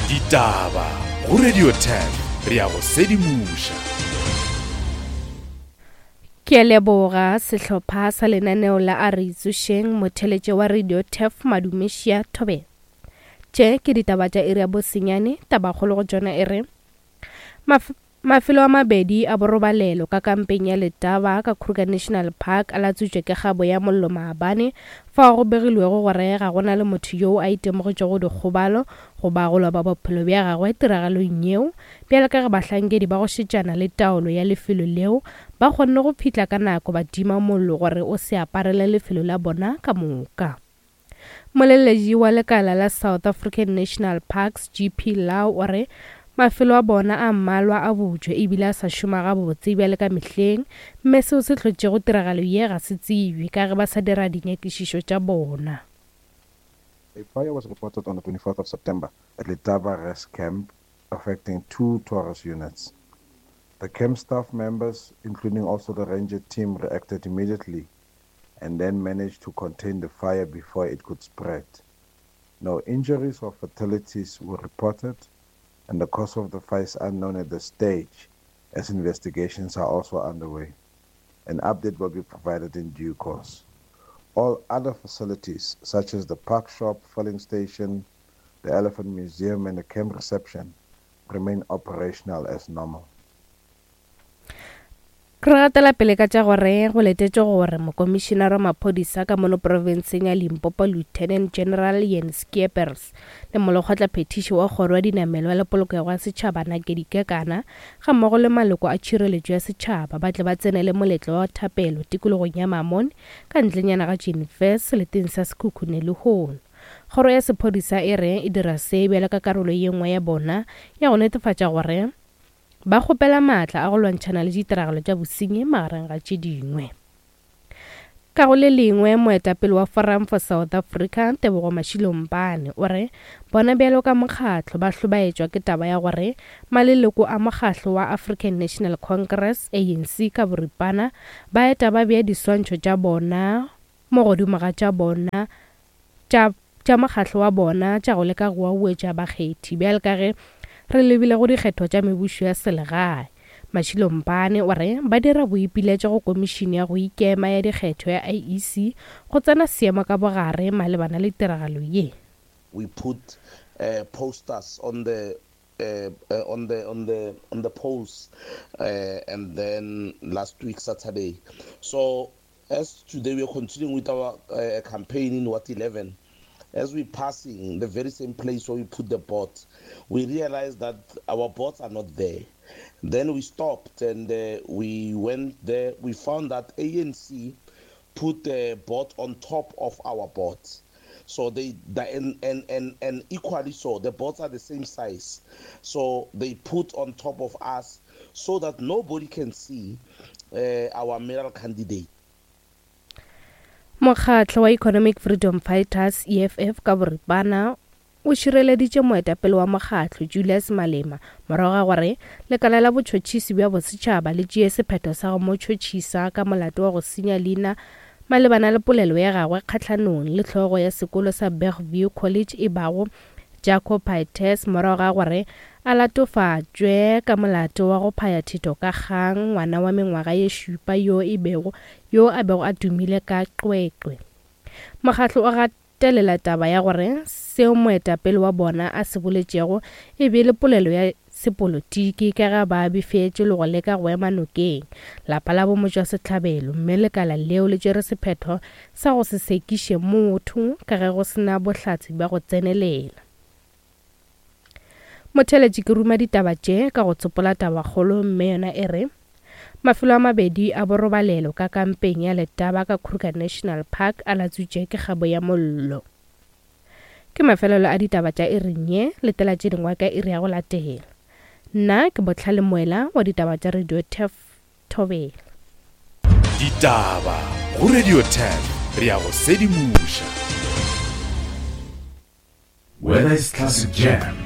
Ditaba go Radio 10 re a go sedimoša. Ke a leboga sehlopha sa lenaneo la A Re Itsošeng, motheletše wa Radio Turf Madumešia Thobela. Tše ke ditaba tša iri ya bosenyane, tabakgolo go tšona e re, Maf Mafelo a mabedi a borobalelo ka kampeng ya Letaba ka Kruger National Park a latswitšwe ke kgabo ya mollo maabane, fao go begilwego gore ga go na le motho yoo a itemogetšego dikgobalo goba go loba bophelo bja gagwe tiragalong yeo, bjalo ka ge bahlankedi ba go šetšana le taolo ya lefelo leo ba kgonne go fihla ka nako ba tima mollo gore o se aparele lefelo la bona ka moka. Moleletši wa lekala la South African National Parks, GP Lau o re mafelo a bona a mmalwa a butšwe ebile a sa šoma gabotse bjale ka mehleng mme seo se hlotšego tiragalo ye ga se tsebje ka ge ba sa dira dinyakišišo tša bona. A fire was reported on the 24th of September at Letaba Rest Camp affecting two tourist units. The camp staff members, including also the ranger team, reacted immediately and then managed to contain the fire before it could spread. No injuries or fatalities were reported, and the cause of the fire is unknown at this stage, as investigations are also underway. An update will be provided in due course. All other facilities, such as the park shop, filling station, the Elephant Museum, and the camp reception, remain operational as normal. Re gatela pele ka tša gore go letetšwe gore Mokomišinara wa Maphodisa ka mono profenseng ya Limpopo Lieutenant General Ian Scheepers le Molekgotlaphethiši wa Kgoro ya Dinamelwa le Polokego ya Setšhaba Nakedi Kekana gammogo le maloko a tšhireletšo ya setšhaba ba tle ba tsenele moletlo wa thapelo tikologong ya Mamone ka ntlenyana ga Jenefer seleteng sa Sekhukhune lehono. Kgoro ya Sephodisa e re e dira se bjalo ka karolo ye nngwe ya bona ya go netefatša gore Ba kgopela maatla a go lwantšhana le ditiragalo tša bosenyi magareng ga tše dingwe. Ka go le lengwe, moetapele wa Forum for South Africa, Tebogo Mashilo Mpane, o re bona bjalo ka mokgatlo ba hlobaetšwa ke taba ya gore maleloko a mokgahlo wa African National Congress, ANC, ka boripana ba eta ba bea diswantšho tša bona mo godimo ga tša bona tša tša mokgatlo wa bona tša go leka go wauwetša bakgethi bjale ka ge re lebile go dikgetho tša mebušo ya selegae. Mashilo Mpane o re ba dira boipiletšo go Komišene ya go Ikema ya Dikgetho ya IEC go tsena seemo ka bogare malebana le tiragalo ye. We put posters on the on the on the on the poles and then last week Saturday so As today we are continuing with our uh, campaign in Ward 11, as we're passing the very same place where we put the bots, we realized that our bots are not there. Then we stopped and uh, we went there. We found that ANC put the bot on top of our bots. So they, the, and, and, and, and equally so, the bots are the same size. So they put on top of us so that nobody can see uh, our mayoral candidate. Mokgatlo wa Economic Freedom Fighters, EFF, ka boripana o šireleditše moetapele wa mokgatlo Julius Malema morago ga gore lekala la botšhotšhisi bja bosetšhaba le tšee sephetho sa go mo tšhotšhisa ka molato wa go senya leina malebana le polelo ya gagwe kgahlanong le hlogo ya sekolo sa Bergview College e bago Jaco Pieterse morago ga gore a latofatšwe ka molato wa go phaya thito ka kgang ngwana wa mengwaga ye šupa yo e bego yo a bego a tumile ka qweqwe. Mokgatlo o gatelela taba ya gore seo moetapele wa bona a se boletšego e be e le polelo ya sepolotiki ka ge ba befetšwe le go leka go ema nokeng lapa la bomotšwasehlabelo mme lekala leo le tšere sephetho sa go se sekiše motho ka ge go se na bohlatse bja go tsenelela. Motheeletši ke ruma ditaba tše ka go tsopola tabakgolo mme yona e re, Mafelo a mabedi a borobalelo ka kampeng ya Letaba ka Kruger National Park a latswitšwe ke kgabo ya mollo. Ke mafelelo a ditaba tša iring ye, letela tše dingwe ka iri ya go latela. Nna ke Bohlale Moela wa ditaba tša Radio Turf Thobela. Ditaba go Radio 10 re a go sedimoša. Whether it's classic jam,